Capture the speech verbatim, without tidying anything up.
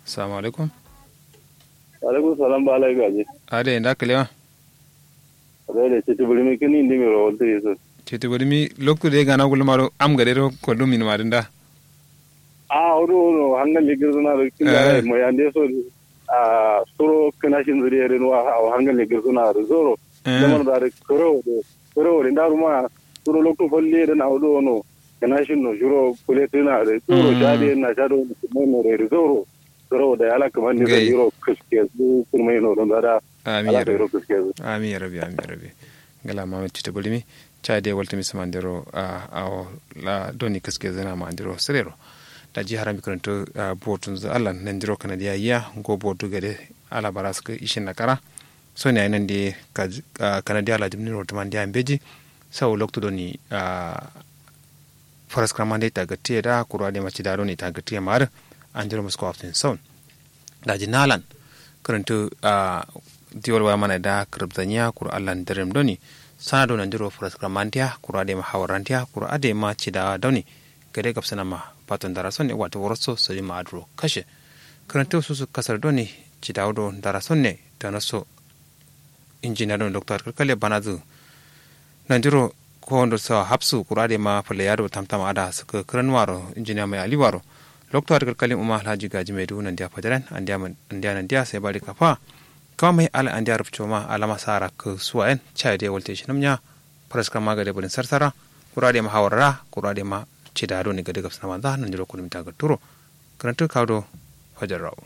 Salamu alaikum. Alaikum salam ba lai gaji. Ade nda kalewa. Ade de citi bulimi kini indi miro walti isu. Citi bulimi loktu de gana gulmaro am gade ro kollum min madinda. A wodo wodo hangal ligir suna ro kin da mo yande so. A suro kina shin zuri rin wa a hangal ligir suna ro zoro. Zaman da ro koro de koro de ndaruma suro loktu falle de na wodo wono. Kina shin no shiro kule tuna ro zoro shade na shado no no ro zoro. Suro da ala kaman ni zoro kiske su kurmai no don da. Amin ya rabi. Amin ya rabi amin ya rabi. Ngala mamet cita bulimi. Cade waltumi samandiro. Awo la doni kaske zina mandiro sirero. Daji harami karanto. Botun zu allan nandiro kanadiya yiya ngo botu gade. Ala baraska ishin nakara. Soni ayi nandi. Kanadiya la dimni rotumandiya mbeji. Sau loktu doni. Faraskramande ita gatiye da kuru adema cida doni ita gatiye ma'ar. Andiro musko aftin saun. Daji nalan. Kǝrǝntǝ. Diwol waya mana da kǝrǝbzanyiya kuru allan dǝrǝm doni. Sana do nandiro fǝraskǝram mantiya kuru adai ma hawar rantiya kuru adai ma cidawa doni. Gade gabsǝna ma. Fato ndara sonne wato woroso sojin ma aduro kashe. Kǝrǝntǝ susu kasar doni. Cidawa do ndara sonne. Tanoso. Injiniya doni lokto adǝ kǝrkale banazǝ. Nandiro. Kowondo sawa hapsu kuru adai ma fǝlai ado tamtam ada sǝkkǝ kǝranuwaro injiniya mai aliwaro. Loktu adǝ kǝrkalin umma alhaji gaji mai duwu nandiya fajaren. Andiya nandiya sai bari kafa. Kama mai ala andiya rufco ma alama sa rakkǝ suwayen. Cayi dai walte shinam nya. Faraskǝram ma gade bǝrin sarsara. Kuru adai ma hawarra kuru adai ma. Cida doni gade gabsǝna manza nandiro kudum ita gǝtturo. Kǝrantǝ kawu do. Fajarrawo.